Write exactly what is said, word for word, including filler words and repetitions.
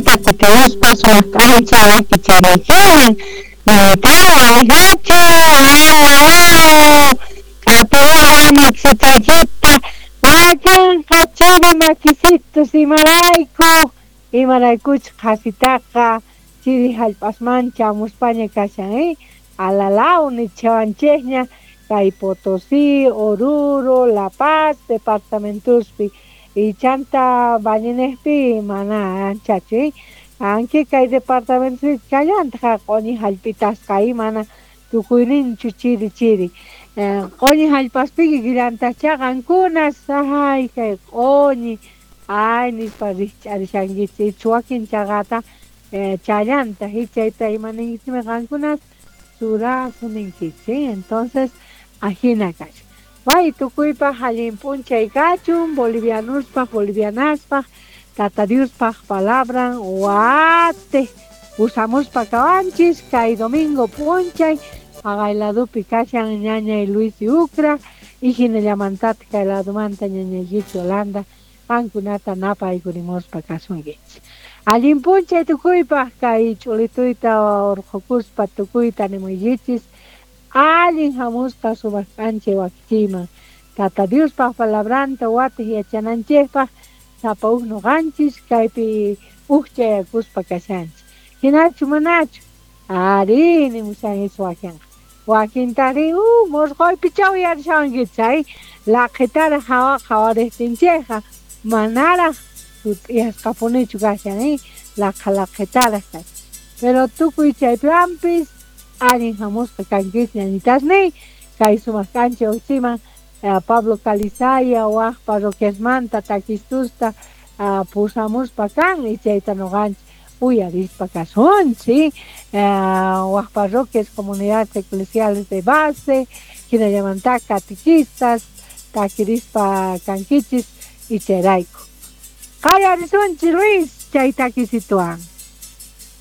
Wajmanta kutimuspa sumaq k'ancha wakichiriykiman ñañitaw alijachu k'apuwa wakinqa chiri makisitus imarayku imaraykuchus qhasitaqa chiri hallp'asman chamuspaña kashan eh alalaw nichawanchikña kay Potosí, Oruro, La Paz departamentospi y chanta Vallenejpi mana anchachu eh anki kay departamentos kallantaq q'uñi hallp'itasqa eh mana tukuyninchu chiri chiri q'uñi hallp'aspiki kikillantaqcha qankunas ay kay q'uñi ay nispa rikch'arishankichik icha wakin chaqata challantaq chayta imaninkichikmi qankunas surazo ninkichik entonces ajina kashan way tukuypaq allin p'unchay kachun bolivianospaq bolivianaspaq Tata Diospaq palabran wate usamuspa kawanchis kay domingo p'unchay haqay ladopi kashan ñañay Luis Yucra y hinallamantata kay ladomanta ñañaykichik Yolanda qankunata napaykurimuspa kasunkichik allin p'unchay tukuypaq kay ch'ulituyta urqukuspa tukuyta nimuykichis allin hamusqa sumaq k'anchay wakichiyman Tata Diospaq palabranta watej yachananchikpaq sapa huk nuqanchis kaypi huk chayakuspa kashanchik hinachu manachu ari nimushankichik wakinqa wakintari uh murquypicha uyarishawankichik chay laqhitaraq hawa qhawariqtinchikqa manaraq sut'iyasqapunichu kashan eh laqha laqhitaraq kashan pero tukuy chaypiwanpis allin hamusqa kankichik ñañitasniy kay sumaq k'anchay wasiman Pablo Calizaya waq parroquiasmanta takistusta pusamuspa kan y chayta nuqanchik uyarispa kasunchik waq parroquias comunidades eclesiales de base hinallamanta catequistas takirispa kankichis y chayrayku qallarisunchik Luis chay takisituwan.